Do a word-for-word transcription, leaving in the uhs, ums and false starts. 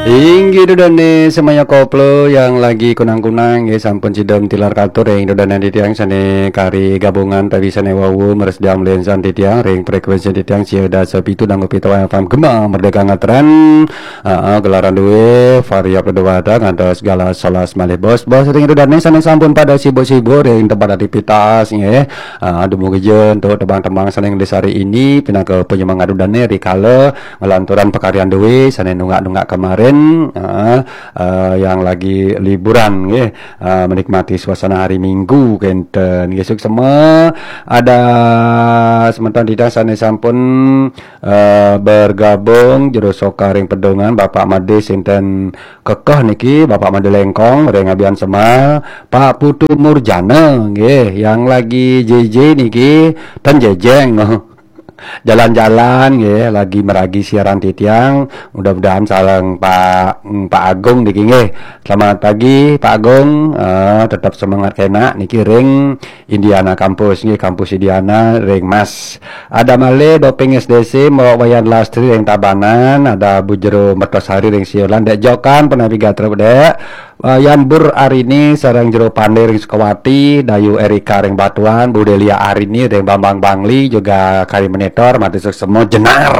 Inggih ida dane semaya koplo yang lagi kunang-kunang nggih, sampun sida tilar katur ring ida dane titiang sane kari gabungan tawi sane wau mresediang mlensan titiang ring frekuensi titiang sia dasa pitu nanggu pitu F M Gema Merdeka Ngatren. Aa, gelaran duwe Varia Pedewata ngantos galah solas malih bos-bos ring ida dane sane sampun pada sibuk-sibuk ring tempat aktivitas nggih. Aa, dumugi ja untuk tembang-tembang sane ngelis hari ini pinaka penyemangat ida dane rikala ngelanturang pakaryan duwe sane nunggak-nunggak kemarin, aa, aa, yang lagi liburan nggih, aa, menikmati suasana hari Minggu kenten nggih. Suksema ada semeton titiang sane sampun, aa, bergabung jero soka ring pedungan Bapak Made sinten kekeh niki, Bapak Made Lengkong ring Abian Semal, Pak Putu Murjana nggih yang lagi J J niki ten jejeng. Jalan-jalan nggih, lagi meragi siaran titiang. Mudah-mudahan sareng Pak, mm, Pak Agung niki nggih. Selamat pagi Pak Agung. Eh, tetap semangat kena niki ring Indiana Kampus nggih, Kampus Indiana ring Mas. Ada malih Doping S D C, Mbok Wayan Lastri ring Tabanan, ada Bu Jero Mertosari ring Siolan, Dek Jokan, Penabi Gatrep, Dek. Eh, Yan Bur Arini sareng Jero Pande ring Sukawati, Dayu Erika ring Batuan, Bu Delia Arini ring Bambang Bangli, juga Kari Monitor, mati suksema jenar.